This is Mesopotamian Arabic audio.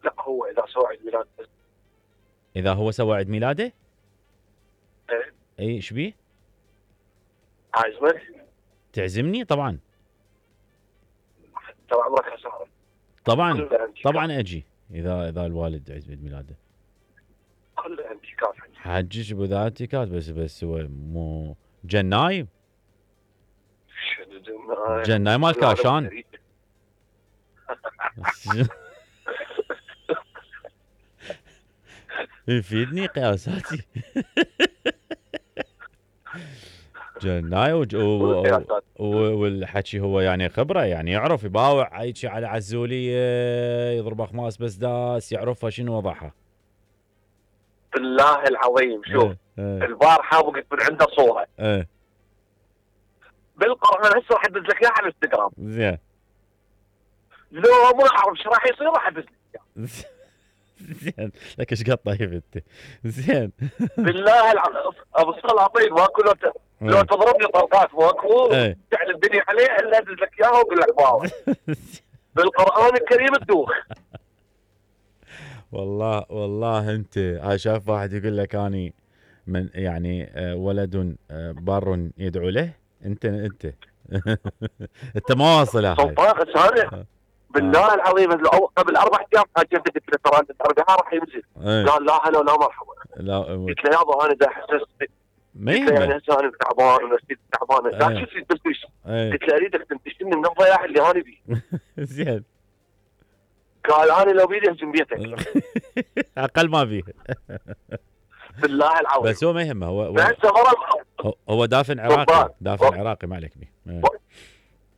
لا هو اذا سوى عيد ميلاد بس. اذا هو سوى عيد ميلاده ايه اي ايش بيه؟ عازمك تعزمني طبعا. ترى عمرك خساره. طبعا كله أنتيكات. طبعا اجي اذا الوالد عيد ميلاده. كله انتيكات. حجج بذاتك بس هو مو جناي. شنو جناي مال كاشان. يفيدني قياساتي. جناي والحكي هو يعني خبره، يعني يعرف يباوع هيك على عزوليه، يضرب اخماس بس داس يعرفها شنو وضعها. بالله العظيم شوف البارحه وقت من عنده صوره بالقران، هسه راح ادز لك اياها على الانستغرام. زين لو ما اعرف ايش راح يصير راح ادز لك اياها. زين لك ايش قد طيب انت. زين بالله العظيم ابو السلاطين ماكو لو تضربني طلقات ماكو تعلن الدنيا عليه الا ادز لك اياها واقول لك باو. بالقران الكريم تدوخ. والله انت هاي شايف واحد يقول لك اني من يعني ولد بار يدعو له. انت انت ما واصلها هاي. سلطان هذا بالله العظيم قبل 4 ايام حاجتك قلت له ترى انت تربيها راح ينزل. قال لا هلا ولا مرحبا. قلت له يابا انا دا حسست ما قلت له يعني هسه انا تعبان ونفسيتي تعبانه. لا شو تريد بس قلت له اريدك تنتشلني من الضياع اللي انا بيه. زين قال انا لو بيدي اهجم بيتك. اقل ما بيه. بالله العظيم بس هو ما يهمه. هو هسه هو دافن عراقي. دافن عراقي ما عليك بيه.